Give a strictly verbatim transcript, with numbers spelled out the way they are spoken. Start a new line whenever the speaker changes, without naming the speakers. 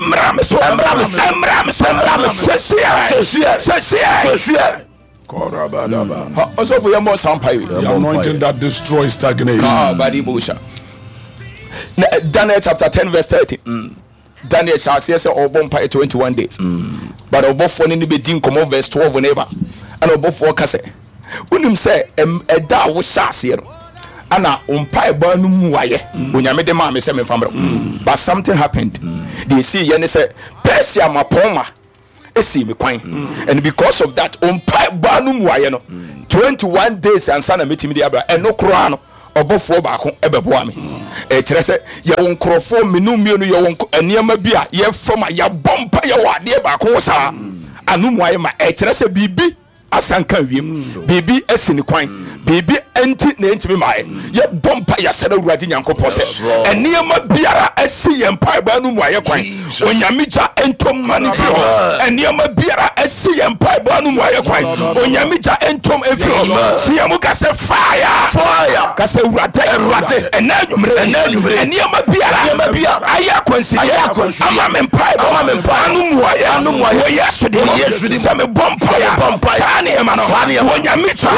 Mmra me so.
Ɛmmra me so.
Ɛmmra me so.
Ɛmmra me so.
Sɛsiɛ.
Sɛsiɛ.
Sɛsiɛ.
Sɛsiɛ.
Korabadaba.
Ha, ɔsɔfo, yɛmmɔ saa mpaeɛ yi.
The anointing that destroys stagnation.
Ah, Badibosha. Na, eh, Daniel chapter ten verse thirty. Daniel hyɛ aseɛ sɛ ɔbɔ mpaeɛ twenty-one days. But ɔbɔfoɔ no ne bɛdi nkɔmmɔ, verse twelve ne ba. Ɛna ɔbɔfoɔ ka sɛ, wonim sɛ ɛm- ɛda a wohyɛ aseɛ no, ana wo mpaebɔ no mu ayɛ Onyame de maa me sɛ memfa mmerɛ wo. But something happened. Deɛ ɛsii yɛ ne sɛ Persia mapɔnma esi me kwan, and because of that, mpaebɔ no mu ayɛ no twenty-one days ansa na metumi de abra. Ɛno koraa no, ɔbɔfoɔ baako ɛbɛboa me. Ɛkyerɛ sɛ yɛwɔ nkurɔfoɔ mmienu mmienu, yɛwɔ nk- nneɛma bi a yɛfam a yɛabɔ mpa, yɛwɔ adeɛ baako wɔ saa ano mu ayɛ ma. Ɛkyerɛ sɛ biribi asanka wiem, biribi asi ne kwan, biribi nti na ɛntumi maayɛ. Yɛbɔ mpa, yɛsɛ no Awurade Nyankopɔn sɛ nneɛma biara asi yɛn mpaebɔ no mu ayɛ kwan, Onyame gya ntom ma no firi hɔ. Nneɛma biara asi yɛn mpaebɔ no mu ayɛ kwan, Onyame gya ntom mfiri hɔ. Tia mu ka sɛ fire.
Fire.
Ka sɛ Awurade,
Awurade.
Ɛnɛ anwummerɛ,
Ɛnnɛ anwummerɛ.
nneɛma biara
Nneɛma biara.
ayɛ akwansideɛ
Ayɛ akwansideɛ.
ama me mpaebɔ
Ama me mpaebɔ.
ano mu ayɛ
Ano mu ayɛ.
wɔ Yesu din mu.
Wɔ Yesu din mu.
Sɛ mebɔ
Sɛ mebɔ
mpaeɛ
mpaeɛ.
saa nneɛma no
Saa nneɛma.
Onyame gya.